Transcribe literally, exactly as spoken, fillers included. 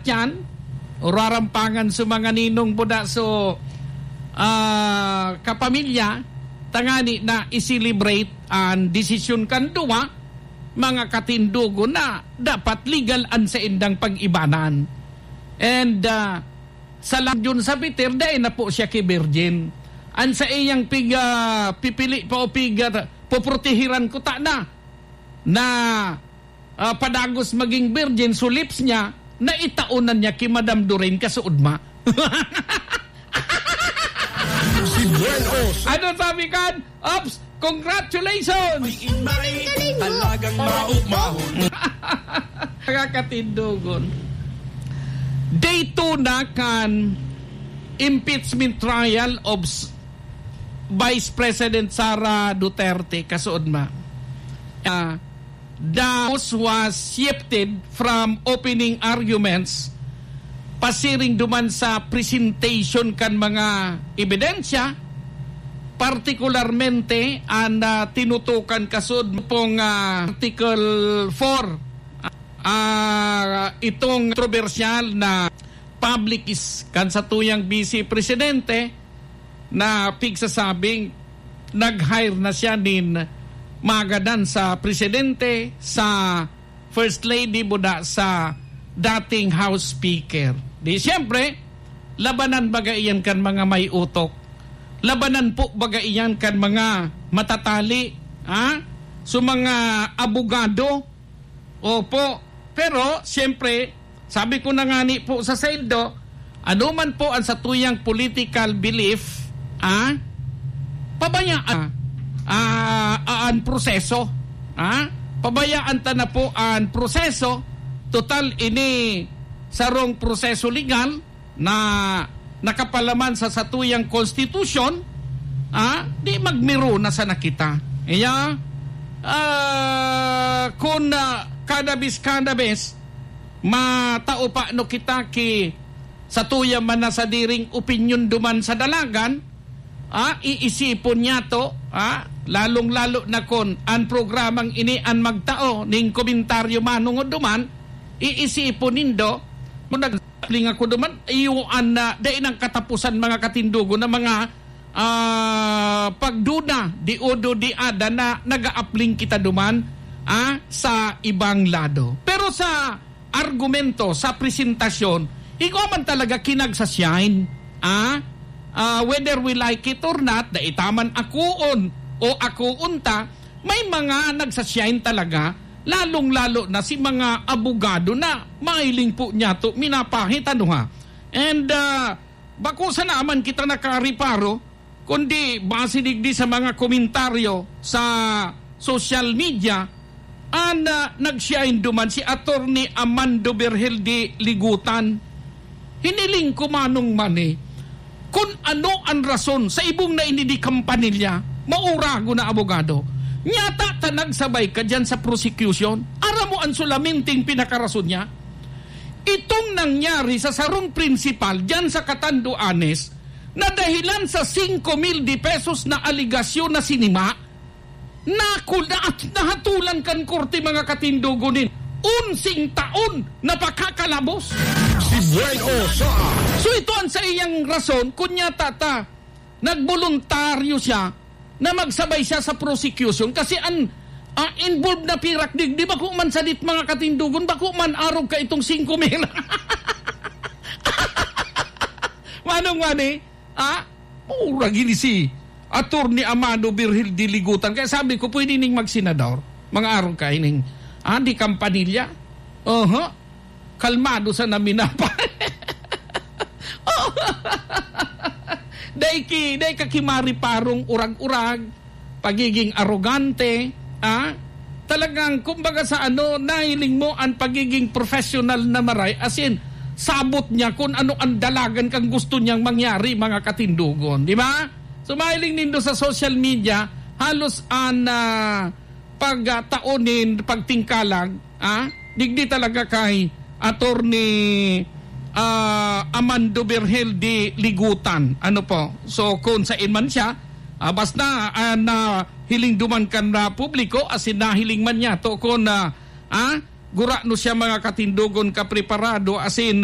yan, o rarampangan sa mga ninong buda so, ah, kapamilya, tangani na i-celebrate an desisyon kan duwa, mga katindogon, na dapat legal an saindang pag-ibanan. And, ah, sa lang yun sa Peter, dai na po siya ki virgin. An sa iyang pig, ah, pipili pa o pig, ah, poprotehiran ko ta na, na ah, padagos maging virgin, so lips niya, naitaon na niya ki Madam Doreen kasuodma. Si Buen Os. Ano sabi kan? Ops, congratulations! May inmay, talagang maugmahon. Nakakatindogon. Day two na kan impeachment trial of s-, Vice President Sara Duterte, kasuodma. Ah, the house was shifted from opening arguments pasiring duman sa presentation kan mga ebidensya, partikularmente an, ah, tinutukan kasuod pong, ah, Article four, ah, itong kontrobersyal na public is kan satuyang Vice Presidente na pigsasabing nag-hire na siya nin magadan sa presidente, sa first lady, buda sa dating House Speaker. Di siyempre, labanan baga iyan kan mga may utok. Labanan po baga iyan kan mga matatali, ha? So, mga abogado, opo. Pero, siyempre, sabi ko na ngani po sa saindo, ano man po ang satuyang political belief, ah, pabayaan, ah, ah, ang proseso, ah, pabayaan ta na po ang proseso. Total, ini sarong proseso legal na nakapalaman sa satuyang konstitusyon, ah, di magmiro na sana kita. Kaya, ah, kun, ah, kada bis, kada bis, matao pa no kita ki satuya man na sadiring opinyon duman sa dalagan, ah, iisipon niyato, ah, lalong-lalo na kun an programang ini an magtao ning komentaryo manongod duman, iisipon nindo, kun nag-, Apling ako duman, iyo an, ah, dai nang katapusan, mga katindogon, na mga, ah, pagduda, di udo, di ada na nag-aapling kita duman, ah, sa ibang lado. Pero sa argumento, sa presentasyon, igwa man talaga kinagsashine, ah, ah, whether we like it or not, dai ta man akoon o akoon ta, may mga nagsashine talaga, lalong-lalo na si mga abogado na mahiling po niyato minapahit, ano ha. And, ah, bako sana man kita nakareparo, kundi base digdi sa mga komentaryo sa social media, an, ah, nag-shine duman si Attorney Amando Berhel de Ligutan. Hiniling ko manong man, eh, kun ano an rason sa ibong na ini di kampanilya, maurago na abogado. Nyata ta nagsabay ka diyan sa prosecution. Aram mo an sulaminting pinakarason niya? Itong nangyari sa sarong prinsipal diyan sa Catanduanes na dahilan sa singko mil de pesos na aligasyon na sinima, Naku, na-, nahatulan kan korte, mga katindogon, nin onseng taon na pakakalabos. Si Buen Osa. So, ito ang sa iyang rason, kun nyata ta nagboluntaryo siya na magsabay siya sa prosecution kasi an, ah, involved na pirak digdi, bako man sadit, mga katindogon, bako man arog ka itong singko mil. Manong Manny, Ah, mura gini si Attorney Amado Virgil Diligutan. Kaya sabi ko, pwede ning magsenador. Mga arog ka ining, ah, di kampanilya. Oho. Kalmado sa naminapa. Dai ki, dai ka ki Mari Parong urag-urag. Pagiging arogante, ah, talagang, kumbaga sa ano, nahiling mo ang pagiging professional na maray, as in, sabot niya kung ano ang dalagan kang gusto niyang mangyari, mga katindogon, di ba? So, mahiling nindo sa social media, halos ang, ah, pagtao nin pagtingkalag, ah, digdi talaga kay Attorney, ah, Amando Virgil de Ligutan. Ano po? So, kung sain man siya, ah, basta, ah, nahiling duman kan, ah, publiko, as in, nahiling man niya to kung, ah, ah, gurano siya, mga katindogon, kapreparado, as in,